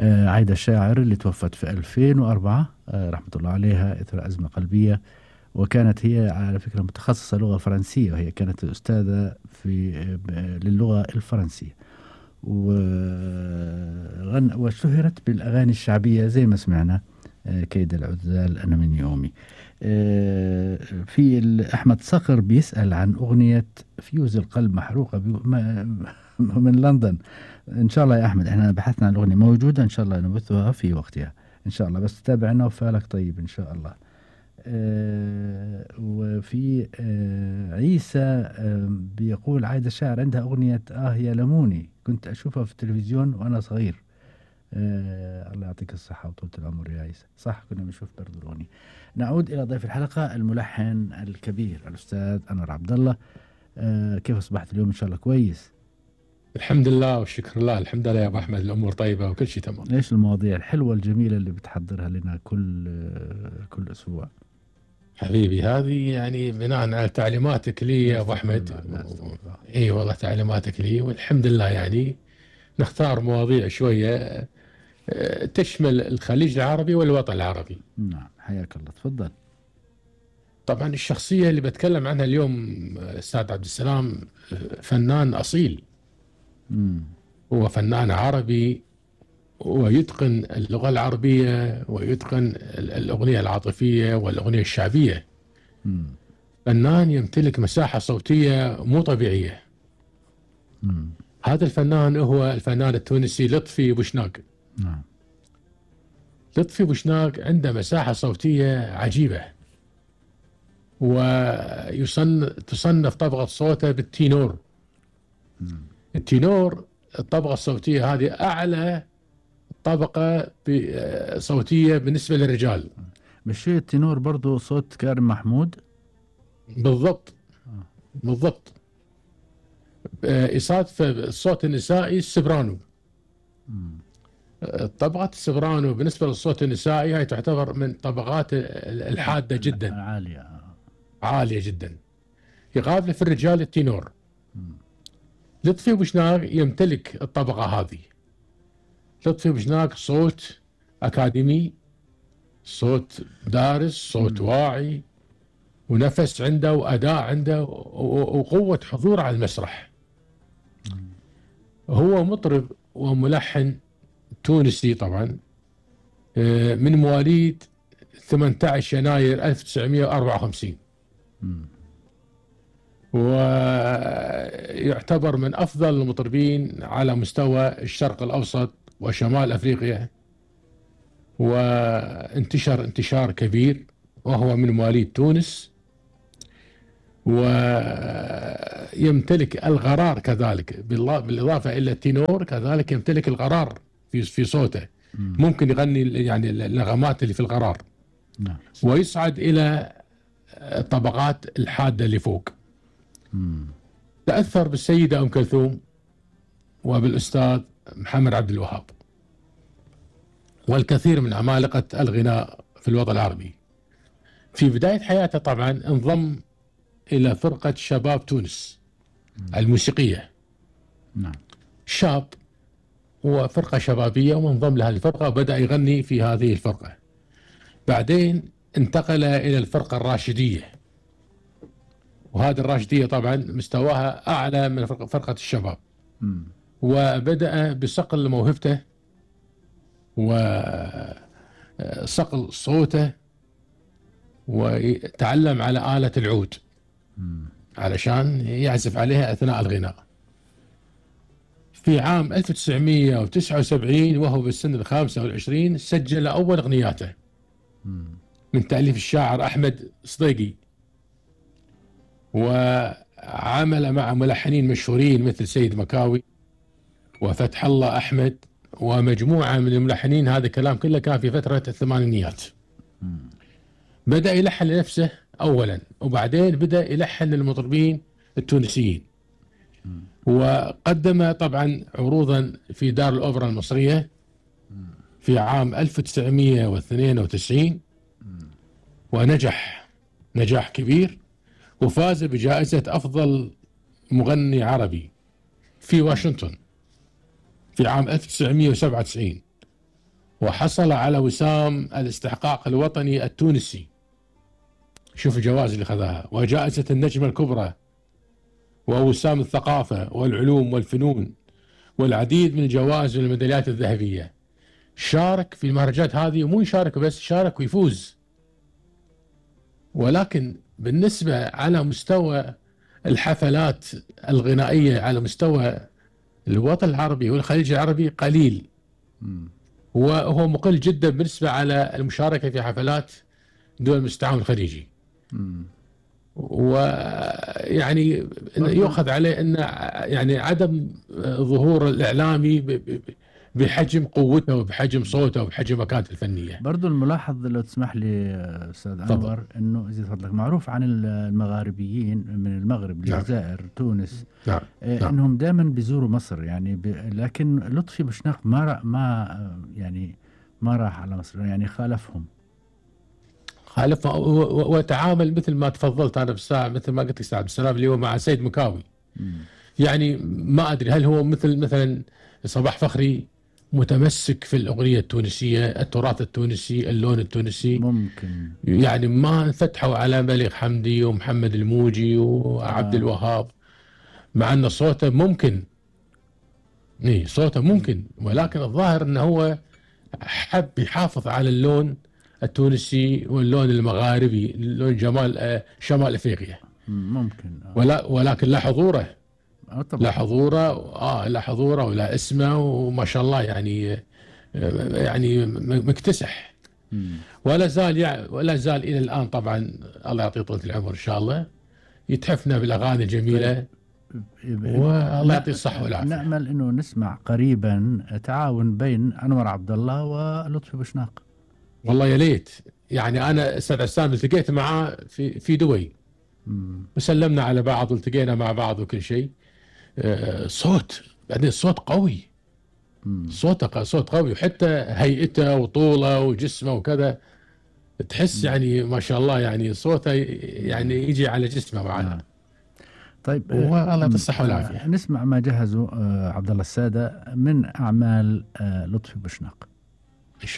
عايدة الشاعر اللي توفت في 2004 رحمة الله عليها إثر أزمة قلبية. وكانت هي على فكرة متخصصة لغة فرنسية، وهي كانت أستاذة للغة الفرنسية، واشتهرت بالأغاني الشعبية زي ما سمعنا، كيد العذال أنا من يومي. في أحمد صقر بيسأل عن أغنية فيوز القلب محروقة من لندن. إن شاء الله يا أحمد إحنا بحثنا عن الأغنية موجودة، إن شاء الله نبثها في وقتها إن شاء الله، بس تابعنا وفالك طيب إن شاء الله. وفي عيسى بيقول عايدة الشاعر عندها أغنية يا لموني، كنت أشوفها في التلفزيون وأنا صغير. الله يعطيك الصحة وطولة العمر يا عيسى. صح كنا بنشوف برضو الأغنية. نعود إلى ضيف الحلقة الملحن الكبير الأستاذ أنور عبد الله. كيف أصبحت اليوم؟ إن شاء الله كويس. الحمد لله والشكر لله. الحمد لله يا أبو أحمد، الأمور طيبة وكل شيء تمام. إيش المواضيع الحلوة الجميلة اللي بتحضرها لنا كل أسبوع؟ حبيبي هذه يعني بناء على تعليماتك لي يا أبو أحمد. إي والله تعليماتك لي، والحمد لله يعني نختار مواضيع شوية تشمل الخليج العربي والوطن العربي. نعم حياك الله، تفضل. طبعا الشخصية اللي بتكلم عنها اليوم أستاذ عبد السلام فنان أصيل. هو فنان عربي ويتقن اللغة العربية ويتقن الأغنية العاطفية والأغنية الشعبية. فنان يمتلك مساحة صوتية مو طبيعية. هذا الفنان هو الفنان التونسي لطفي بوشناق. نعم. لطفي بوشناق عنده مساحة صوتية عجيبة، وتصنف طبقة صوته بالتينور. التينور الطبقة الصوتية هذه أعلى طبقة صوتية بالنسبة للرجال. مش التينور برضو صوت كارم محمود؟ بالضبط. بالضبط. إصادة الصوت النسائي السبرانو. طبقة السبرانو بالنسبة للصوت النسائي هي تعتبر من طبقات الحادة جدا، عالية جدا. يقابل في الرجال التينور. لطفي بوشناق يمتلك الطبقة هذه. لطفي بوشناق صوت أكاديمي، صوت دارس، صوت واعي، ونفس عنده وأداء عنده وقوة حضور على المسرح. هو مطرب وملحن تونسي طبعا، من مواليد 18 يناير 1954، ويعتبر من أفضل المطربين على مستوى الشرق الأوسط وشمال أفريقيا، وانتشر انتشار كبير، وهو من مواليد تونس. ويمتلك الغرار كذلك، بالإضافة إلى التينور كذلك يمتلك الغرار في صوته. ممكن يغني يعني النغمات اللي في الغرار. ويصعد إلى الطبقات الحادة اللي فوق. تأثر بالسيدة أم كلثوم وبالأستاذ محمد عبد الوهاب والكثير من عمالقة الغناء في الوطن العربي. في بداية حياته طبعا انضم إلى فرقة شباب تونس الموسيقية. شاب وفرقة شبابية، وانضم لهذه الفرقة وبدأ يغني في هذه الفرقة. بعدين انتقل إلى الفرقة الراشدية، وهذه الراشدية طبعا مستواها أعلى من فرقة الشباب. وبدأ بصقل موهبته وصقل صوته، وتعلم على آلة العود علشان يعزف عليها أثناء الغناء. في عام 1979 وهو بالسن 25 سجل أول أغنياته من تأليف الشاعر أحمد صديقي، وعمل مع ملحنين مشهورين مثل سيد مكاوي وفتح الله أحمد ومجموعة من الملحنين. هذا الكلام كله كان في فترة الثمانينيات. بدأ يلحن لنفسه أولا، وبعدين بدأ يلحن للمطربين التونسيين. وقدم طبعا عروضا في دار الأوبرا المصرية في عام 1992، ونجح نجاح كبير، وفاز بجائزة أفضل مغني عربي في واشنطن في عام 1997. وحصل على وسام الاستحقاق الوطني التونسي، شوف الجوائز اللي خذاها، وجائزة النجمة الكبرى، ووسام الثقافة والعلوم والفنون، والعديد من الجوائز والميداليات الذهبية. شارك في المهرجانات هذه، ومو يشارك بس، شارك ويفوز. ولكن بالنسبة على مستوى الحفلات الغنائية على مستوى الوطن العربي والخليج العربي قليل، وهو مقل جدا بالنسبة على المشاركة في حفلات دول المستعمر الخليجي. ويعني يؤخذ عليه أن يعني عدم ظهور الإعلامي بحجم قوته وبحجم صوته وبحجم مكانته الفنية. برضو الملاحظ لو تسمح لي أستاذ أنور، أنه إذا فضلك معروف عن المغاربيين من المغرب، الجزائر، تونس، أنهم دائما بيزوروا مصر يعني، لكن لطفي بوشناق ما راح على مصر، يعني خالفهم وتعامل مثل ما تفضلت أنا بالساعة، مثل ما قلت لك ساعة بالسلام اللي هو مع سيد مكاوي. يعني ما أدري هل هو مثلا صباح فخري متمسك في الأغنية التونسية، التراث التونسي، اللون التونسي، ممكن يعني ما فتحوا على بليغ حمدي ومحمد الموجي وعبد الوهاب، مع أن صوته ممكن، صوته ممكن، ولكن الظاهر أنه هو حب يحافظ على اللون التونسي واللون المغاربي، اللون شمال أفريقيا. ممكن ولكن لا حضوره، لا حضوره ولا اسمه، وما شاء الله يعني مكتسح. ولا زال الى الان طبعا، الله يعطيه طولة العمر ان شاء الله، يتحفنا بالاغاني الجميله، والله يعطيه الصحه والعافيه. نامل انه نسمع قريبا تعاون بين انور عبد الله ولطفي بوشناق. والله يا ليت، يعني انا استاذ عسام التقيت معاه في دبي، وسلمنا على بعض والتقينا مع بعض وكل شيء. بعدين صوت قوي، صوت قوي، وحتى هيئته وطوله وجسمه وكذا، تحس يعني ما شاء الله، يعني صوته يعني يجي على جسمه معنا. طيب والله يعطيه الصحه والعافيه. نسمع ما جهزه عبد الله السادة من اعمال لطفي بوشناق.